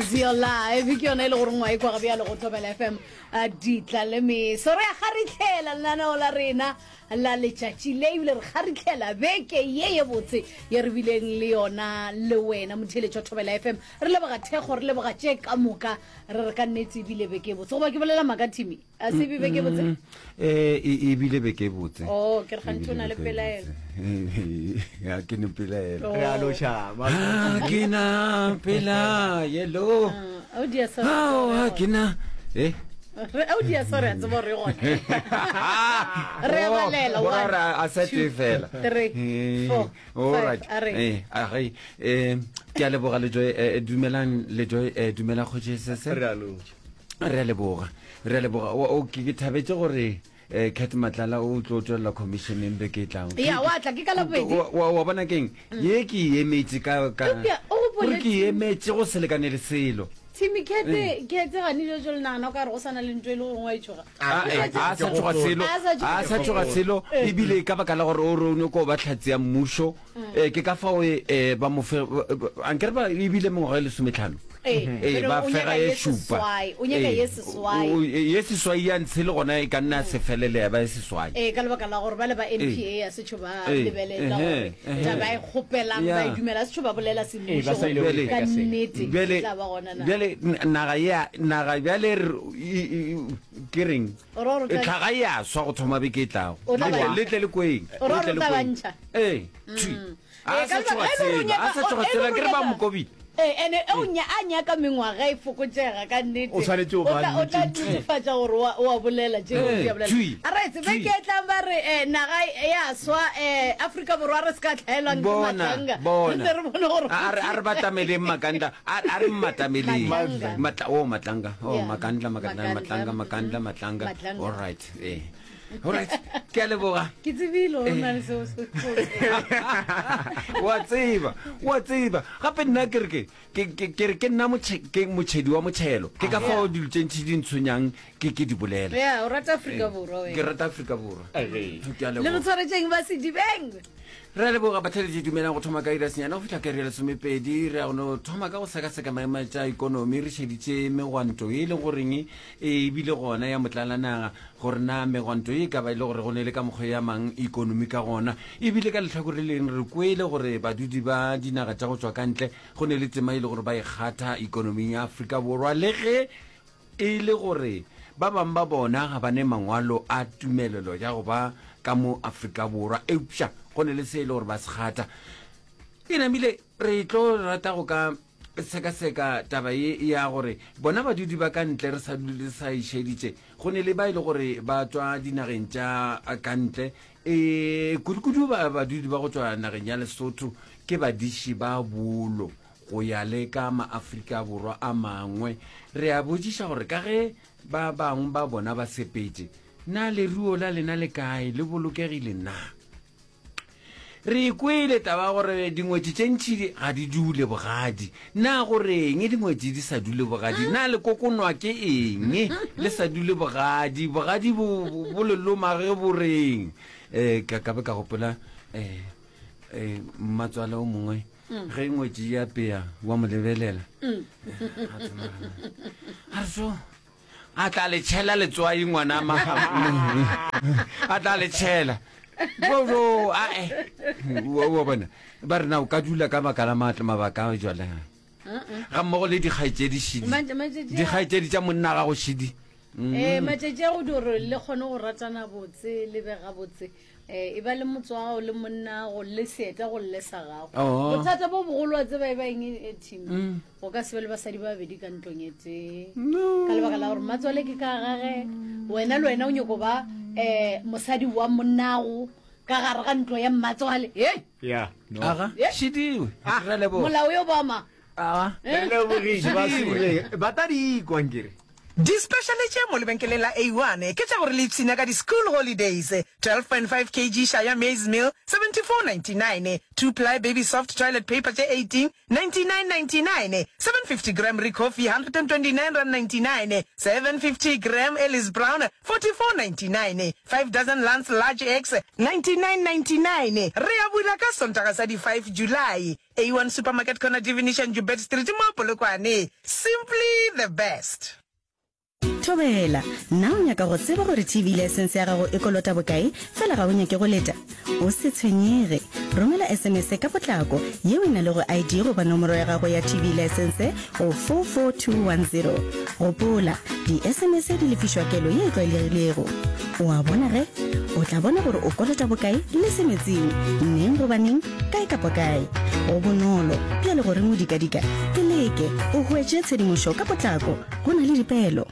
Zio Live ke yona e le gore ngwa e kwa bjalo go Thobela FM a ditla le meso re a kgaritlhela lenaneo la rena la letšatši le ebile re kgaritlhela beke ye ye botse ye re bileng le yona le wena motheeletši wa Thobela FM re leboga thekgo re leboga tše ka moka re re ka nnete ebile beke e botse goba ke bolela maaka Timmy A se be beke botse? Mm, eh, e, e bile beke botse. Oh, ke re gantši o na le pelaelo. Ya ke ne pelaelo. Oh. Re a loša. Ha ke na pelaelo. Ah, o dia sorry. Ha ke na eh Re o dia sorry a tseba gore e gona. Re a oh, balela one. A sa tee fela. 3 4 All right. A re. Eh, a re eh ke a leboga le joy eh, dumelang le joy eh dumela kgoši sese. Re a loša. Re a leboga, re a leboga. O, o, ke, ke thabetše gore eh, Cat Matlala o tlo tšwelela commissioneng beke e tlago. Ya, wa tla, ke ka Labobedi. Wa, wa, wa bona keng? Ye ke e emetše ka, ka, Eupša, o gopole gore ke e Tim- emetše go se lekane le selo. Timmy Cat, Cat gane jo jo le nagana o ka re go sa na le ntho e le gore wa e tšhoga. A, eh, a sa tšhoga selo, A sa tšhoga a sa tšhoga selo, ebile ka baka la gore o re o nyoko ba hlatse ya mmušo, eh, ke ka fao eh, ba mo fe, ankere ba ebile mengwaga e lesometlhano. Ee, Ee, bjale ba o fega nyaka ye ye šupa. seswai, o nyaka Ee, ye seswai. o- o- ye seswai ya ntshe le gona e ka nna ya se felele ya ba ye seswai. Ee, ka lebaka la gore ba le ba NPA ya setšho ba Ee, lebelela ehe, gore ehe. taba e kgopelang ba e Ya. dumela setšho ba bolela Ee, ba semmušo sa ile go gore ka ka selo. nnete Bjale, e tla ba gona na. bjale n- naga ya naga bjale re- i- i- i- ke reng? O ra gore o tla- Tlhaga e a swa go thoma beke e tlago. O tla Le tle- ba- le tle le kweng. O ra Le tle gore o le tla ba kweng. ntšha? Ee, thwi. Ee, A ka sa lebaka- tšhoga e le gore o selo, a nyaka- sa tšhoga e le selo, gore o ke re ba nyaka- mo kobile. Ee, ene o nya a nyaka mengwaga e fokotšega ka nnete. O swanetše go O ba tla- o tla nnete. netefatša gore wa o a bolela tše Ee, di a bolela. thwi, A re tsebe thwi. ke tlang ba re eh, naga ya swa eh, Afrika Borwa re se ka tlhaelwang ke Bona, matlanga. Re bona. tle re bone gore A a re a re batameleng makandla, a a re mmatameleng. Matlanga. Matla oh matlanga. Oh Yeah. makandla makandla Makandla, matlanga makandla mm, matlanga. Matlanga. All right. Eh. All right. Ke a leboga. Ke tsebile gore o na le seo se Wa tseba, wa tseba. Gape nna ke re ke ke ke ke re ke nna motšhe ke motšhedi wa motšhelo. Ke ka fao dilo tše ntši di ntshwenyang ke ke di bolela. Yeah, o rata Afrika Borwa Ke wena. rata Afrika Borwa. Ke a Le re leboga. tshwaretšeng ba Sedibeng. Re a leboga batheeletši dumelang go thoma ka iri ya senyane go fihla ka iri ya lesomepedi. Re ya go no thoma ka go sekaseka maemo a tša ikonomi re šeditše megwanto ye e leng goreng e bile gona ya motlalanaga gore na megwanto ye e ka ba e le gore go ne le ka mokgwa ya mang ikonomi ka gona. Ebile ka lehlakore le leng re kwele gore badudi ba dinaga tša go tšwa ka ntle go ne le tema e le gore ba e kgatha ikonoming ya Afrika Borwa le ge E le gore ba bangwe ba bona ga ba ne mangwalo a tumelelo ya go ba ka mo Afrika Borwa, eupša go ne le se e le gore ba se kgatha. E namile re tlo rata go ka sekaseka taba ye ya gore bona badudi ba ka ntle re sa dule re sa e šeditše, go ne le ba e le gore ba tšwa dinageng tša ka ntle, e kudukudu ba badudi ba go tšwa nageng ya Lesotho ke badiši ba bolo. Go ya le ka maAfrika Borwa a mangwe, re a botšiša gore ka ge ba bangwe ba bona ba sepetše, na leruo la lena le kae, le bolokegile na? Re kwele taba ya gore dingwetši tše ntši ga di dule bogadi. Na go reng dingwetši di sa dule bogadi? Na le kokonwa ke eng le sa dule bogadi? Bogadi bo, bo le loma ge bo reng? Um ka, ka be ka gopola um um mmatswale o mongwe Ge ngwetši ya pea wa mo lebelela. A re so a tla le tšhela letswai ngwana ma. A tla le tšhela. Bo a e. Wa bona. Ba re na o ka dula ka baka la matla mabaka a jwale. Ga mmogo le dikgaetšedi šidi. Dikgaetšedi tša monna gago šidi. Eh matšatši a go diro le kgone go ratana botse le be gabotse. Eh, e ba le motse wa gago le monnago le seeta go lle sa gago Oh. bothata bo bogolo wa tseba e ba eng e team go ka se be le basadi ba babedi ka ntlong e tee No. ka lebaka la gore matswale ke ka gage wena le wena o nyoko ba um mosadi wa monnago ka gare ga ntlo ya mmatswale e Yeah, no. Aga, Eh? šidiwe. Re a leboga. molao yo bama Aga. Re lebogiše ba Sedibeng. Ba tla di ikwa nkere. Di-speciale tše mo lebenkeleng la A1 ke tša gore le ipshine ka di-school holidays, 12.5 kg Shaya maize meal, 74.99, 2 ply baby soft toilet paper tše 18, 99.99, 750 gram Ricoffy, R129.99, 750 gram Ellis Brown, 44.99, 5 dozen Lance large eggs, 99.99. Re a bula ka Sontaga sa di 5 July. A1 Supermarket Corner Devenish and Joubert Street mo Polokwane. Simply the best. Thobela, na o nyaka go tseba gore TV license ya gago e kolota bokae, fela ga o nyake go leta? O se tshwenyege. Romela SMS ka potlako yeo e na lego ID goba nomoro ya gago ya TV license go 44210. Gopola, di-SMS di lefišwa kelo ye e tlwaelegilego. O a bona ge? O tla bona gore o kolota bokae le semetsing, neng goba neng, kae kapa kae. Go bonolo, bjale goreng o dikadika? Ke leke, o hwetše tshedimošo ka potlako. Go na le dipeelo.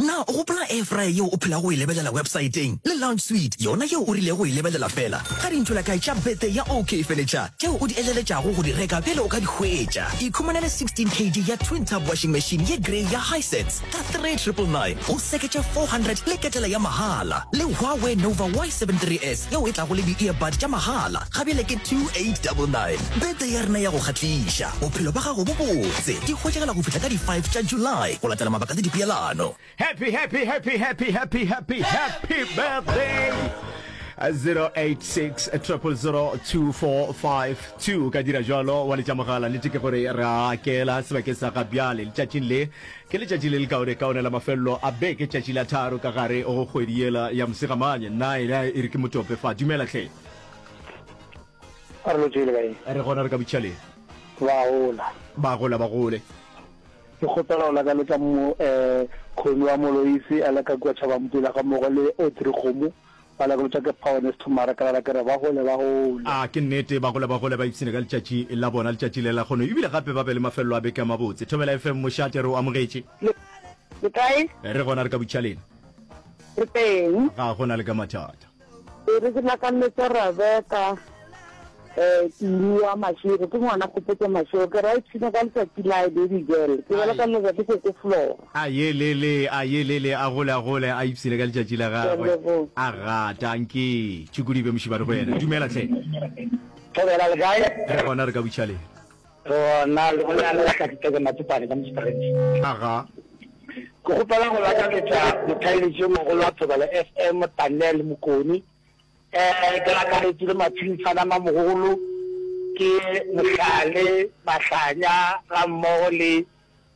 Na o gopola air fryer yeo o phelago o e lebelela websaeteng le lounge suite yona yeo o rilego go e lebelela feela? Ga dintšolakae tša birthday ya OK Furniture tšeo o di eleletšago go di reka bjale o ka di hwetša. Ikhumanele 16 kg ya twin tub washing machine ye grey ya Hisense ka 3999 go seketša 400 le ketela ya mahala le Huawei Nova Y73s yeo e tlago le di-earbud tša mahala ga bjale ke 2899. Birthday ya rena ya go kgahliša, bophelo bja gago bo botse di hwetšagala go fihla ka di 5 tša July go latela mabaka le dipeelano. Happy happy happy happy happy happy happy birthday 086 000 2452 o ka dira jalo wa letša mogala nnete ke gore re a akela sebakeng sa ga bjale letšatšing le ke letšatši le lekaone kaone la mafelelo a beke tšatši la tharo ka gare go kgwedi yela ya mosegamanye nna ena e re ke motope fa dumela hle A re lo tšwele kae? Re gona re ka botšhaleng. Ba gola. Ba gola ba gole. Ke kgopela go lakaletša mo eh Khoni wa Moloisi a le ka kua Tšhabampula ga mmogo le Audrey Kgomo ba lakaletšwa ke Power Thumara ke rera ke re ba gole ba gole. A ke nnete ba gole ba gole ba ipshine ka letšatši la bona letšatši le la kgono ebile gape ba be le mafelelo a beke a mabotse. Thobela FM mošate re o amogetše. Le le kae? Re gona re ka botšhaleng. Re teng. Ga gona le ka mathata. E re ke lakalletsa Rebeka um Tumi wa Mashego, ke ngwana Kgopotso Mashego, ke ra ipshina ka letsatsi la baby girl, ke ba lakalletsa ke Koko Flora. A ye le le, a ye le le, a gole a gole, a ipshine ka letšatši la gagwe, a gata nke tšhukudibe mošibane go yena. Dumela hle. Thobela le kae? Re gona re ka butšhaleng. Re gona le bolela le Tlakiteke Matsopane ka Mosprings. Aga. Ke kgopela go lakaletša motheeletši yo mogolo wa Thobela FM Daniel Mokoni. Eh ke lakaletše le Matshintshana Mamogolo ke Mohlale Mahlanya ga mmogo le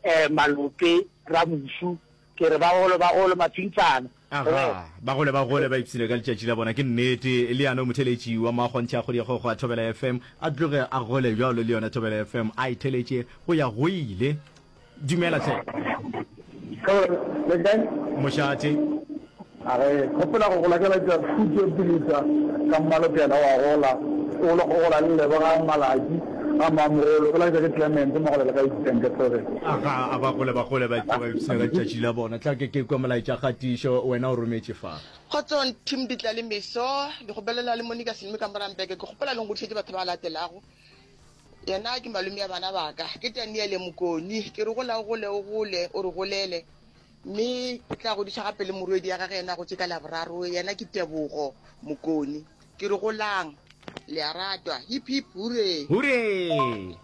eh Malope Ramusu. Ke re bagolo bagolo Matshintshana. Aga, ba gole ba gole ba ipshine ka letšatši la bona. Ke nnete, le yano motheletši wa makgonthe a kgodiakgogo a Thobela FM a tloge a gole bjalo le yona Thobela FM a e theletše go ya go ile. Dumela hle. Thobela, le kae? Mošate. A re, Gopola go gola ke laetša khutšo Pilisa ka mmalokela wa gola o le go gola le leboga Malaki ga mmamogolo o laetša ke Clement Mogolela ka Eastern ke Thobela. Aga, a ba gole ba gole ba ba ipshina ka letšatši la bona. Tla ke ke kwe molaetša kgatišo wena o rometše fa. Kgotsong team Ditla le Meso, ke kgopelela le Monica Selome ka Morambeke, ke kgopela le ngodišetše batho ba latelago. Yena ke malome ya bana ba ka, ke Daniele Mokoni, ke re gola o gole o gole o re golele. Mme ke tla godiša gape le morwedi ya gage yena a gotše ka Laboraro, yena ke Tebogo Mokoni. Ke re golang, le a ratwa. Hip hip huree! Huree!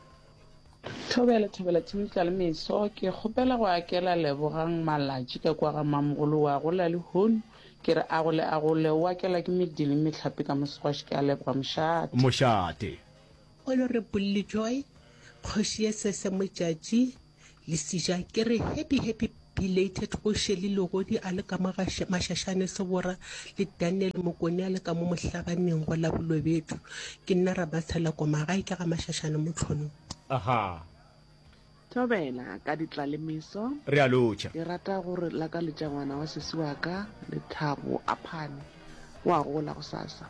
Thobela, Thobela Team Tlalemeso, ke kgopela go akela Lebogang Malatši ka kua ga Mamogolo wa gola lehono, ke re a gole a gole, o akela ke medi le mehlape ka mosegwaši, ke a leboga mošate. Mošate. Honorable Joy, Kgoši ye Sese Modjadji, Lesija ke re happy happy belated go Shelly Legodi a le ka mo ga Mashashane Sebora le Daniel Mokone a le ka mo Mohlabaneng go la Bolobedu. Ke nna Ramatshela Koma gae ke ga Mashashane Motlhonong. Aha. Thobela ka ditlalemeso. Re a lotšha. Ke rata go re lakaletša ngwana wa sesi wa ka, Lethabo Aphane. O a gola gosasa.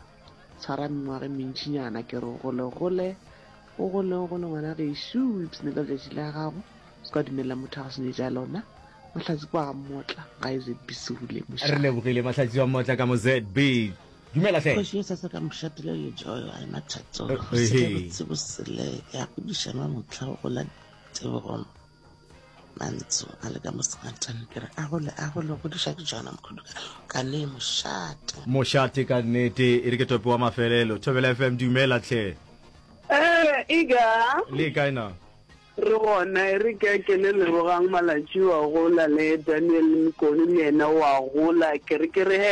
Tshwara mengwaga e mentšinyana. Ke re o gole gole. O gole, o gole ngwana gešo, o ipshine ka letšatši la gago, o se ka dumelela motho a go senyetša lona. Mahlatsi kwa ga Mmotla, gae ZB Seule, Re mošate. lebogile Mahlatsi wa Mmotla ka mo ZB. Dumela hle. Kgoši e sasa ka mošate le lejoyo a ema thatong go sele botse bosele ya godiša mamohla go gola tebogo Mantsho a le ka mo sengatane ke re a gole a gole godiša ke Jona Mokhudu ka ne mošate. Mošate ka nnete e re ke tope wa mafelelo. Thobela FM dumela hle. Eh, Iga. Le kae na? Re gona, e re ke akele Lebogang Malatši wa gola le Daniel Mokone le yena wa gola. Ke re ke re he.